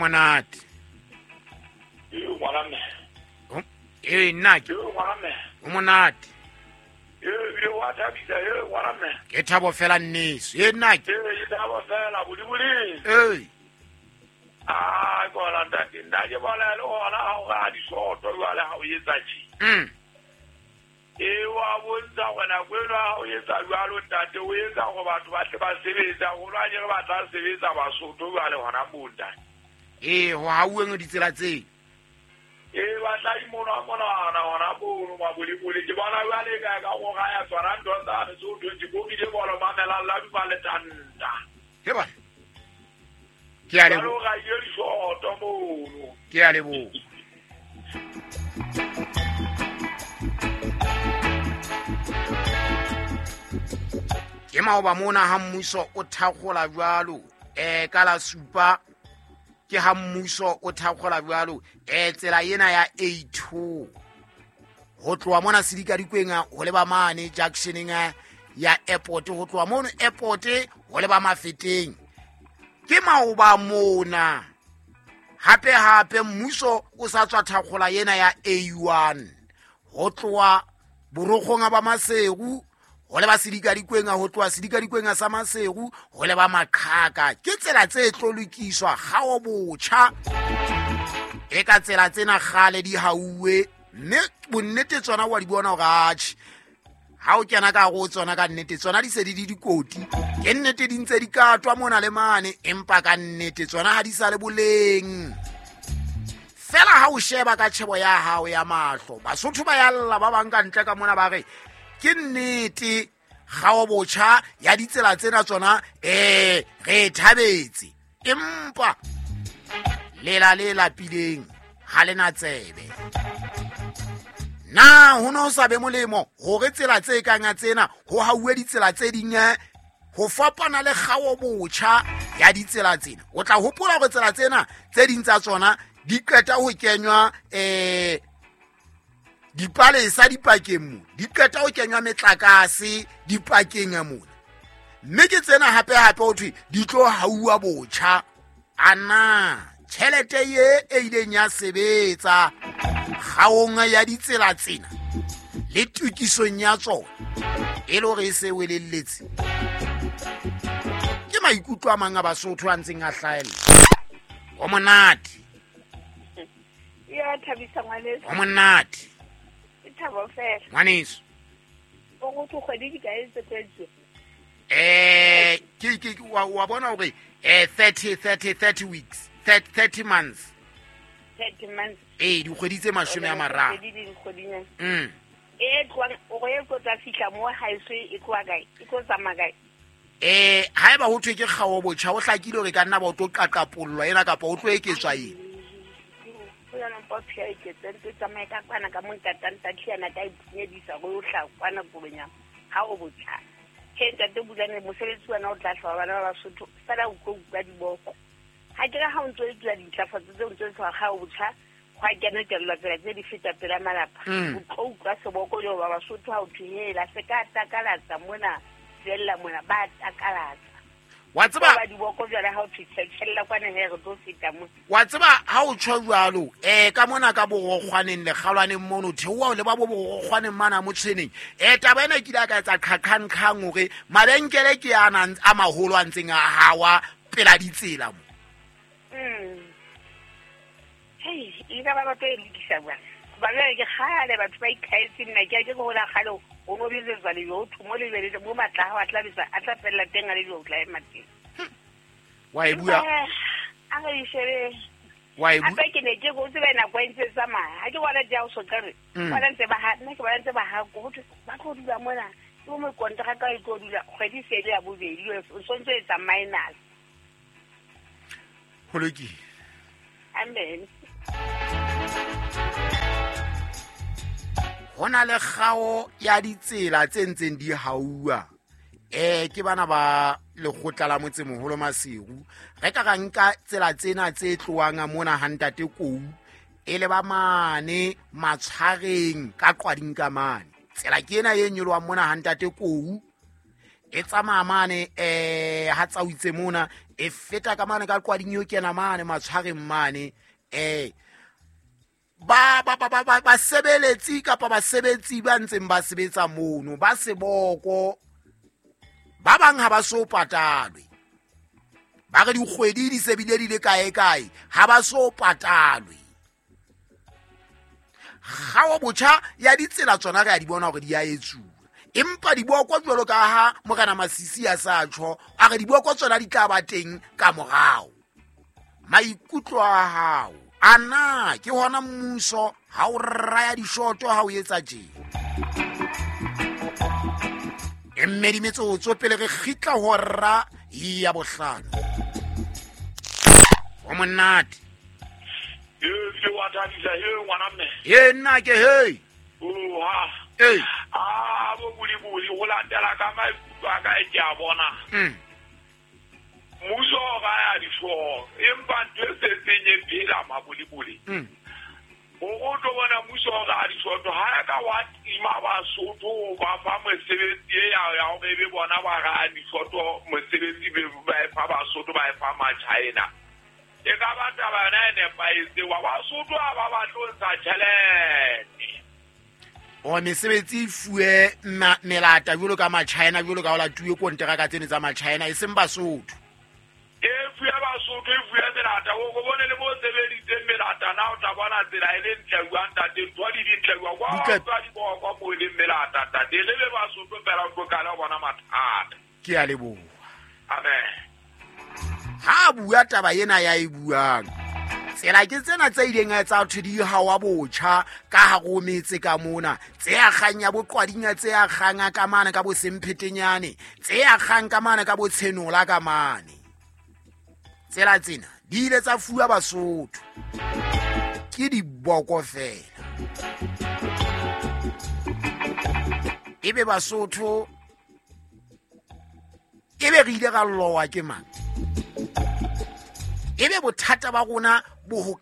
Monate. Ngwana mme. Ee, nna ke. Ngwana mme. O monate. Ee, wa thabisa, ee, ngwana mme. Ke thabo fela nneso. Ee, nna ke. Ee, ke thabo fela, bodiboding. Ee. Ah, kona ntate, nna ke bona le hona ha o ra disoto jwale ha o etsa tje. Ee, wa bontsha hore nako eno ha o etsa jwalo ntate, o etsa hore batho ba tle ba sebetsa, haholo ha ke re ba tla sebetsa Basotho jwale hona moo ntate. Ee, ho hauweng ditsela tseo. Ee, ba tla imonwa monwana hona mono maboliboli. Ke bona jwale ka ka go raya tsona ntho tsane tse o thweng ke bokile bolo mamelang la duma le tanta. Ke bona. Ke a leboha. Jwale o raile disoto mono. Ke a leboha. Ke maoba mona ha mmuso o thakgola jwalo, ka la supa ke ha mmuso o thakgola jwalo, tsela ena ya A2 ho tloha mona Sedikadikweng ho leba mane junctioneng ya airport, ho tloha mono airport ho leba Mafeteng. Ke maoba mona hape hape mmuso o sa tswa thakgola ena ya A1 ho tloha Borokgong ba Maseru ho leba Sedikadikweng, ho tloha Sedikadikweng sa Maseru ho leba Maqhaka. Ke tsela tse tlo lokiswa kgao botjha, e ka tsela tsena kgale di hauwe, mme bonnete tsona wa di bona hore atjhe ha o kena ka hare ho tsona ka nnete tsona di se di le dikoti. Ke nnete di ntse di katwa mona le mane, empa ka nnete tsona ha di sa le boleng. Fela ha o sheba ka tjhebo ya hao ya mahlo, Basotho ba ya lla ba bang ka ntle ka mona ba re ke nnete kgao botjha ya ditsela tsena tsona, re e thabetse, empa lela le lapileng ha le na tsebe. Na ho no sa be molemo hore tsela tse kang ya tsena ho hauwe ditsela tse ding ho fapana le kgao botjha ya ditsela tsena? O tla hopola hore tsela tsena tse ding tsa tsona di qeta ho kenywa dipalesa dipakeng mo, di qeta ho kenywa metlakase dipakeng ya mona, mme ke tsena hape hape ho thwe di tlo hauwa botjha. Ana tjhelete ye e ileng ya sebetsa kgaong ya ditsela tsena le tokisong ya tsona e le hore e se welelletse? Ke maikutlo a mang a Basotho a ntseng a hlahella. O monate. Ya thabisa ngwaneso. O monate. Ke thabo fela. Ngwaneso. O go tlo kgwedi di kae tse kwetse? Ke wa bona hore 30 weeks, 30 months. 30 months. Ee, dikgwedi tse 30. Kgwedi di dikgwedinyana. E tloang, o re e tlo tla fihla mo haeso e tloha kae? E tlo tsamaya kae? Haeba ho thwe ke kgao botjha, ho hlakile hore ka nna ba o tlo qaqapollwa ena kapa o tlo eketswa eng? Ho yona mpa o phia eketse, ntse tsamaya ka kwana ka mo ntatang Tatiana ka iphunyedisa hore o hla kwana Kobonyama, ha o botjha. He ntate Bulane, mosebetsi wena o tla hlwa bana ba Basotho, fela o tlo utlwa diboko. Ha ke re ha o ntso etsuwa dintlafatso tseo, o ntso etsuwa kgao botjha, hwa kena kelello tsela tse di feta pela malapa. O tlo utlwa seboko le hoba Basotho ha o thwe hela, se ka takalatsa mona, fella mona, ba takalatsa. Wa tseba ba diboko jwale ha o thwe tjhella kwana he re tlo feta mo. Wa tseba ha o tjho jwalo, ka mona ka borokgwaneng le kgalwaneng mono, theoha o le ba bo borokgwaneng mana mo tshweneng. Taba ena e kile ya ka etsa qhaqhang-qhang hore mabenkele ke a nang a maholo a ntseng a hawa pela ditsela mo. Hei, e ka ba batho e lokisa jwang? Hoba jwale ke kgale batho ba ikhaetse nna, ke a ke re hola kgale o no betsetswa lejwe, ho thwe mo lejwe le mo matla a hao a tla betsa, a tla fella teng a lejwe, o tla ema teng. Wa e bua? Empa, a re e shebe. Wa e bua? Hape ke ne ke re o tsebe nako e ntse e tsamaya. Ha ke bona di a o soqa re, bona ntse ba ha, nna ke bona ntse ba ha, ko ho thwe, ba tlo dula mona. Ke bo mokonteraka e tlo dula kgwedi e se le ya bobedi, o sontso etsa minus. Ho lokile. Amen. Ho na le kgao ya ditsela tse ntseng di hauwa. Ke bana ba lekgotla la motsemoholo Maseru. Re ka ra nka tsela tsena tse tlohang mona ha ntate Kou, e le ba mane Matshwareng ka Qwading ka mane. Tsela ke ena e nyolohang mona ha ntate Kou, E tsamaya mane ha tsautse mona e feta ka mane ka qwading yo kena mane matshwareng mane ba ba ba ba ba sebeletsi kapa basebetsi ba ntseng ba sebetsa mono ba seboko ba bang ha ba so patalwe ba re dikgwedi di se bile di le kae kae ha ba so patalwe kgao botjha ya ditsela tsona re a di bona hore di a etsuwa empa diboko jwalo ka ha Morena Masisi a sa tjho a re diboko tsona di tla ba teng ka morao maikutlo a hao a na ke hona mmuso ha o raya dishoto ha o etsa tje e mmedi metsotso pele re kgitla hora ya bohlano o monate e wa thabisa he ngwana mme e nna ke hei oha ee a bo boliboli go latela ka maikutlo a ka e ke a bona mmuso o raya dihlooho empa ntho e setseng e phela maboliboli gore o tlo bona mmuso o raya dihlooho ha e ka wa tima Basotho ba fa mosebetsi e ya hore e be bona ba raya dihlooho mosebetsi ba e fa Basotho ba e fa Machina e ka ba taba yona e nepahetseng wa Basotho ha ba batle ho ntsha tjhelete o mesebetsi e fuwe melata jwalo ka Machina jwalo ka ho latuwe konteraka tsene tsa Machina e seng Basotho e fuwe Basotho e fuwe melata o go bone le bo sebeditseng melata na o tla bona tsela e le ntle jwang ntate ntho di dintle jwang kwa ba di bokwa mo e leng melata ntate re be Basotho fela o tlo kala ho bona mathata ke a leboha amen ha bua taba ena ya e buang tsela ke tsena tse ileng tsa thwe di hawa botjha ka hare ho metse ka mona tse akgang ya boqwadinya tse akgang ka mane ka bo semphetenyane tse akgang ka mane ka bo tshenola ka mane tsela tsena di ile tsa fuwa Basotho ke diboko fela ebe Basotho ebe re ile ra lowa ke mang ebe bothata ba rona bo ho